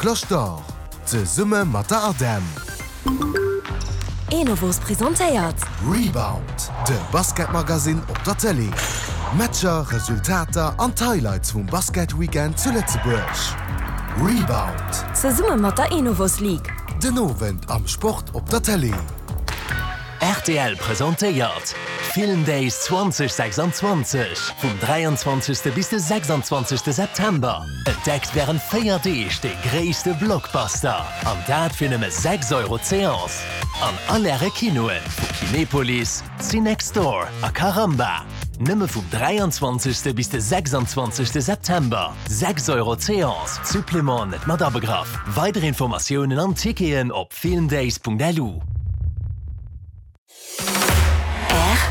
Cloche d'Or, zesumme mat der ADEM. Enovos presentéiert. Rebound, de Basketmagazine op der Tëlee. Matcher, Resultater an d'Highlights vum Basketweekend zu Lëtzebuerg. Rebound. Zesumme mat der Enovos League. Den Owend am Sport op der Tëlee. Rtl presentéiert Film Days 2026 vum 23. Bis de 26. September. Entdeckt wärend 4 Deeg de gréisste Blockbuster an dat fir nëmme 6 Euro d'Seance an all Äre Kinoen vu Kinepolis, Cinextdoor a Caramba. Nëmme vum 23. Bis de 26. September, 6 Euro d'Seance, Supplément net mat abegraff. Weider Informatiounen an Ticketen op filmdays.lu. Rtl.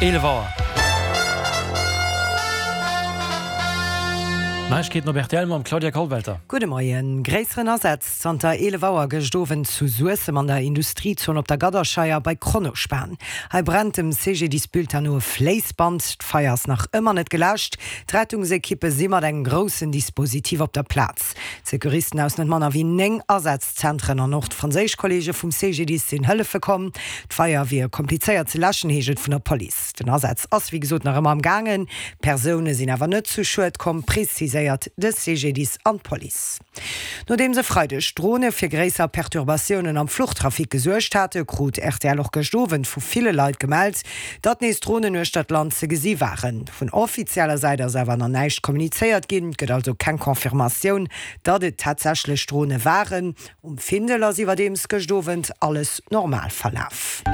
11 Auer. Neiegkeeten op rtl mam Claudia Kollwelter. Gudde Moien. Gréisseren Asaz zanter 11 Auer gëscht Owend zu Suessem an der Industriezon op der Gadderscheier bei Kronospan. Hei brennt dem CGDIS Bulletin no e Fléissband. D'Feier ass nach ëmmer net geläscht. D'Rettungsekippe si mat engem groussen Dispositif op der Plaz. D'Secouristen aus net manner wéi 9 Asazzentren an och d'franséisch Kolleege vum CGDIS sinn hëllefe komm. D'Feier wier komplizéiert ze läschen, heescht et vun der Police. Den Asaz ass wéi gesot nach ëmmer am gaangen. Persoune sinn awer net zu Schued komm, preziséiert de CGDIS an d'Police. Nodeems e Freideg Drone fir gréisser Perturbatiounen am Fluchtrafic gesuergt hate, krut rtl och gëscht Owend vu ville Leit gemellt, datt nees Dronen uechter d'Land ze gesi waren. Vun offizieller Säit ass awer nach näischt kommunizéiert ginn, et gëtt also keng Confirmatioun, datt et tatsächlech Drone waren. Um Findel ass iwwerdeems gëscht Owend alles normal verlaf.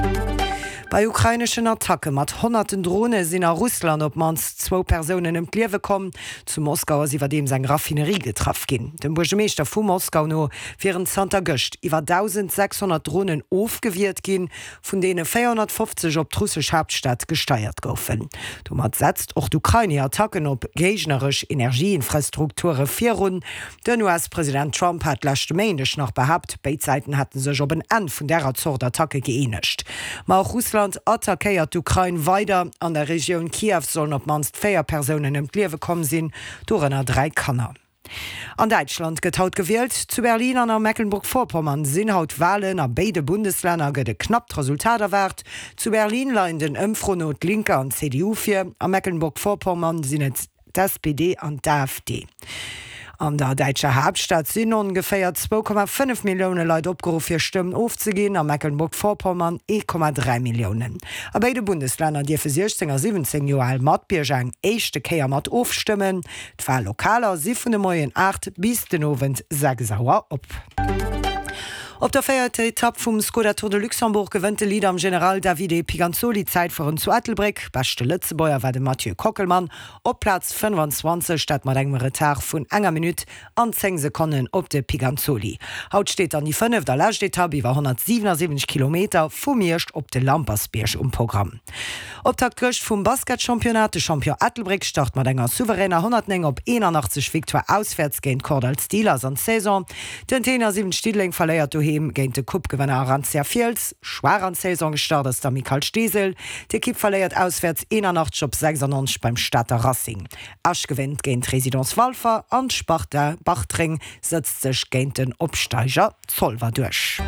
Bei ukraineschen Attacke mat honnerten Drone sinn a Russland op d'mannst zwou Persounen ëm d'Liewe komm. Zu Moskau ass iwwerdeems eng Raffinerie getraff ginn. Dem Buergermeeschter vu Moskau no wieren zanter gëscht iwwer 1.600 Dronen ofgewiert ginn. vun deene 450 op d'russesch Haaptstad gesteiert goufen. Domat setzt och d'Ukrain hir Attacken op géigneresch Energieinfrastrukture virun. Den US-President Trump hat leschte Méindeg nach behaapt, béid Säiten hätte sech op en Enn vun därer Zort Attacke gëeenegt. Ma och Russland attackéiert d'Ukrain weider. An der Regioun Kiew sollen op d'mannst 4 Persounen ëm d'Liewe komm sinn, dorënner 3 Kanner. An Däitschland gëtt haut gewielt. Zu Berlin an a Mecklenburg-Vorpommern sinn haut Walen. A béide Bundeslänner gëtt e knappt Resultat erwaart. Zu Berlin leien den Ëmfroen no d'Linke an d'CDU vir, a Mecklenburg-Vorpommern sinn et d'SPD an d'AfD. An der däitscher Haaptstad sinn ongeféier 2,5 Millioune Leit opgeruff hir Stëmm ofzeginn, a Mecklenburg-Vorpommern 1,3 Milliounen. A béide Bundeslänner dierfe 16 a 17 Joer al Matbierger eng éischte Kéier mat ofstëmmen. D'Wallokaler si vun de Moien 8 bis den Owend 6 Auer op. Op der véierter Etapp vum Skoda Tour de Luxembourg gewënnt de Leader am General Davide Piganzoli d'Zäitfueren zu Ettelbréck. Beschte Lëtzebuerger war de Mathieu Kockelmann op Plaz 25, dat mat engem Retard vun enger Minutt an 10 Sekonnen op de Piganzoli. Haut steet dann déi fënneft a lescht Etapp iwwer 177 Kilometer vu Miersch op de Lampersbierg um Programm. Optakt gëscht vum Basketchampionnat, De Champion Ettelbréck start mat enger souveräner 109 op 81 Victoire auswäerts géint d'Kordall Steelers an d'Saison. Den Tenor 7 Diddeleng verléiert doheem géint de Coupe-Gewënner Arantia Fiels. Schwaach an d'Saison gestart ass d'Amicale Steesel. D'Ekipp verléiert auswäerts 81 op 96 beim Stater Racing. Esch gewénnt géint d'Résidence Walfer an d'Sparta Bartreng sëtzt sech géint den Opsteiger Zolwer duerch.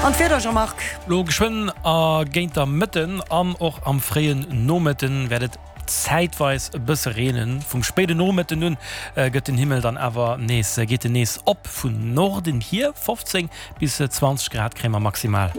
An d'Wieder, Jean-Marc? Lo geschwënn a géint der Mëtten an och am fréien Nomëtten wäert et zäitweis e bësse reenen. Vum spéide Nomëtten un gëtt den Himmel dann awer nees geet en nees op vun Norden hier. 15 Bis 20 Grad kréie mer maximal.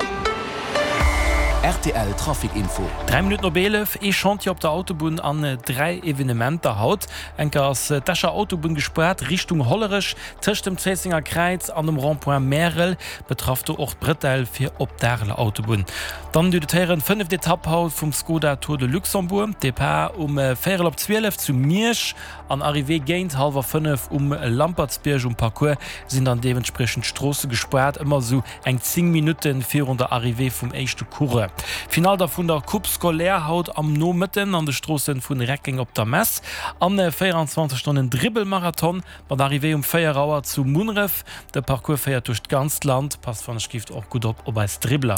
Rtl Trafic Info. 3 Minutten op 11, Ee Chantier op der Autobunn an 3 Evenementer haut. Enker ass d'Escher Autobunn gespaart Richtung Hollerech tëscht dem Zéissenger Kräiz an dem Rond-point Märel. Betraff do och d'Bretelle fir op d'Areler Autobunn. Dann déi héieren fënneft Etapp haut vum Skoda Tour de Luxembourg. Depart um véierel op 12 zu Miersch. An Arrivée géint hallwer 5 um Lampertsbierg. Um Parcours sinn dann deementspriechend d'Stroosse gespaart, ëmmer esou eng 10 Minutte virun der Arrivée vum éischte Coureur. Finall da vun der Coupe scolaire haut am Nomëtten an de Stroosse vun Reckeng op der Mess an 24 Stonnen Dribbelmarathon mat Arrivée um 4 Auer zu Munneref. De Parcours féiert duerch d'ganzt Land. Passt wann ech gift och gutt op op eis Dribbler.